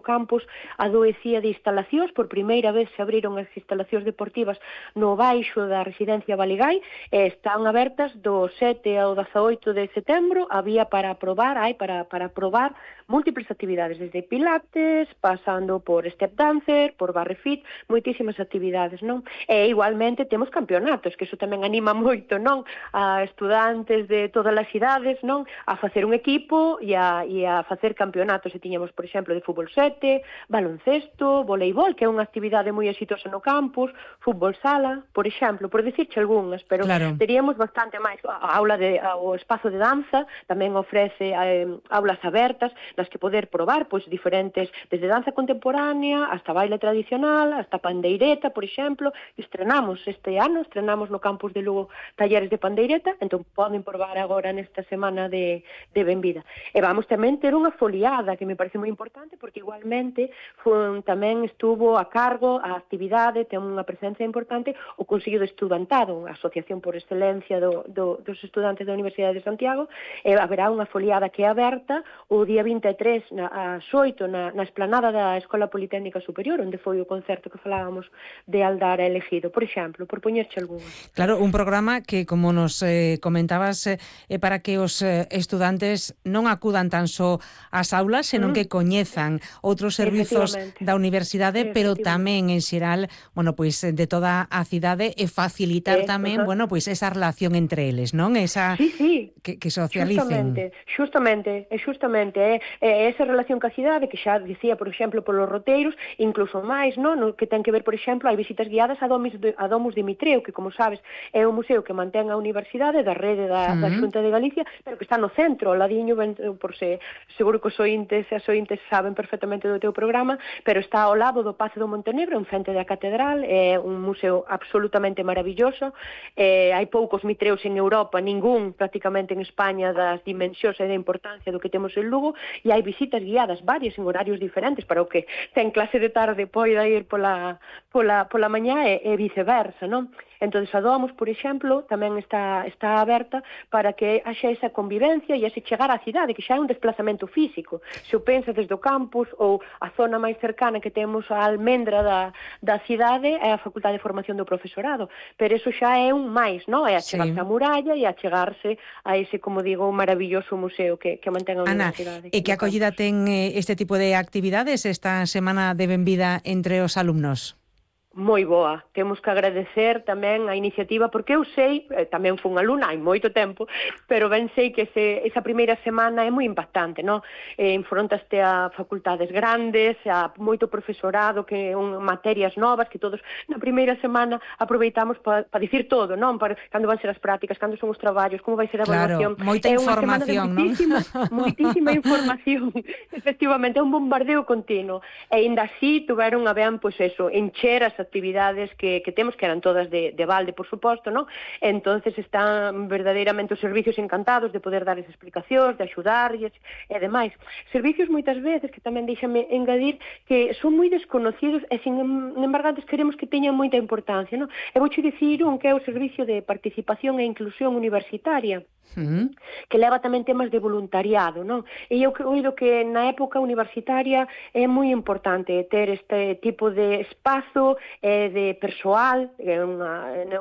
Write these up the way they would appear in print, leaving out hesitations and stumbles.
campus adoecía de instalacións. Por primeira vez se abriron as instalacións deportivas no baixo da residencia Baligai, están abertas do 7 ao 18 de setembro. Había para probar múltiples actividades, desde pilates, pasando por step dancer, por barre fit, moitísimas actividades, non? E igualmente temos campeonatos, que iso tamén anima moito, non? A estudantes de todas as idades, non? A facer un equipo e a facer campeonatos. E tiñamos, por exemplo, de fútbol 7, baloncesto, voleibol, que é unha actividade moi exitosa no campus, fútbol sala, por exemplo, por dicirche algunhas, pero teríamos bastante máis. O espazo de danza tamén ofrece aulas abertas, nas que poder probar pois diferentes, desde danza contemporánea hasta baile tradicional, hasta pandeireta, por exemplo. Estrenamos no campus de Lugo talleres de pandeireta, entón poden probar agora nesta semana de benvida. E vamos tamén ter unha foliada, que me parece moi importante, porque igualmente tamén estuvo a cargo a actividade, ten unha presencia importante, o Consello de Estudantado, a asociación por excelencia dos estudantes da Universidade de Santiago, e haberá unha foliada que é aberta o día 23 ás 8 na esplanada da Escola Politécnica Superior, onde foi o concerto que falábamos de Aldara Elegido, por exemplo, por poñerche algunha. Claro, un programa que, como nos comentabas, para que os estudantes non acudan tan só ás aulas, senón que coñezan outros servizos da universidade, pero tamén en xeral, bueno, pois de toda a cidade, e facilitar tamén, bueno, pois esa relación entre eles, non? Esa que socialicen. Justamente, esa relación ca cidade, que xa dicía, por exemplo, polos roteiros, incluso máis, non? Que ten que ver, por exemplo, hai visitas guiadas a Domus Dimitreu, que, como sabes, é un museo que mantén a universidade da rede da Xunta de Galicia, pero que está no centro, ao ladiño, seguro que os ointes e as ointes saben perfectamente do teu programa, pero está ao lado do Pazo do Montenegro, en frente da catedral. É un museo absolutamente maravilloso. Hai poucos mitreus en Europa, ningún prácticamente en España, das dimensións e da importancia do que temos en Lugo, e hai visitas guiadas varias en horarios diferentes, para o que ten clase de tarde poida ir pola mañá e viceversa, non? Entón, a Domus, por exemplo, tamén está aberta para que haxa esa convivencia e ese chegar á cidade, que xa é un desplazamento físico. Se o pensa desde o campus ou a zona máis cercana que temos a almendra da cidade, é a Facultade de Formación do Profesorado, pero eso xa é un máis, non? É achegarse á muralla e achegarse a ese, como digo, maravilloso museo que mantén a universidade. E que acollida ten este tipo de actividades esta semana de benvida entre os alumnos? Moi boa. Temos que agradecer tamén a iniciativa, porque eu sei, tamén fui unha alumna hai moito tempo, pero ben sei que esa primeira semana é moi impactante, non? Enfrontaste a facultades grandes, a moito profesorado, que materias novas, que todos na primeira semana aproveitamos para dicir todo, non? Cando van ser as prácticas, cando son os traballos, como vai ser a evaluación. Moita información, non? Moitísima información. Efectivamente, é un bombardeo continuo. E ainda así tuveron a ben, pois eso, encher as actividades que temos, que eran todas de balde, por suposto, non? Entonces están verdadeiramente os servicios encantados de poder darles explicacións, de axudarlles e demais. Servicios moitas veces, que tamén deixame engadir, que son moi desconocidos e sin embargo queremos que teñan moita importancia, non? E vouche dicir un que é o Servicio de Participación e Inclusión Universitaria, que leva tamén temas de voluntariado, non? E eu oído que na época universitaria é moi importante ter este tipo de espazo de persoal.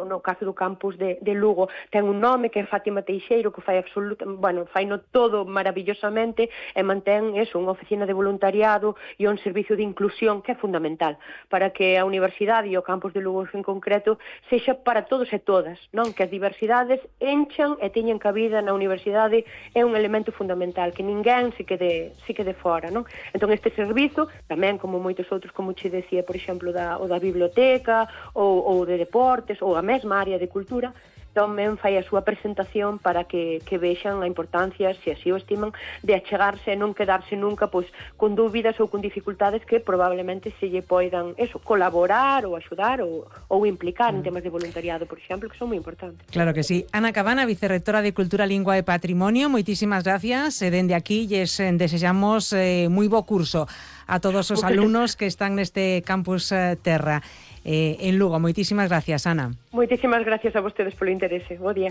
No caso do campus de Lugo ten un nome que é Fátima Teixeiro, que fai faino todo maravillosamente, e mantén unha oficina de voluntariado e un servicio de inclusión que é fundamental para que a universidade e o campus de Lugo en concreto sexa para todos e todas, non? Que as diversidades enchan e teñan cabida na universidade, é un elemento fundamental, que ninguén se quede fora, non? Entón este servizo, tamén como moitos outros, como che decía, por exemplo, o da biblioteca ou de deportes ou a mesma área de cultura, tamén fai a súa presentación para que vexan a importancia, se así o estiman, de achegarse e non quedarse nunca pois con dúbidas ou con dificultades que probablemente se lle poidan colaborar ou axudar ou implicar en temas de voluntariado, por exemplo, que son moi importantes. Claro que sí. Ana Cabana, vicerrectora de Cultura, Lingua e Patrimonio, moitísimas gracias. Dende aquí lles desexamos moi bo curso a todos os alumnos que están neste campus Terra en Lugo. Moitísimas gracias, Ana. Moitísimas gracias a vostedes polo interese. Bo día.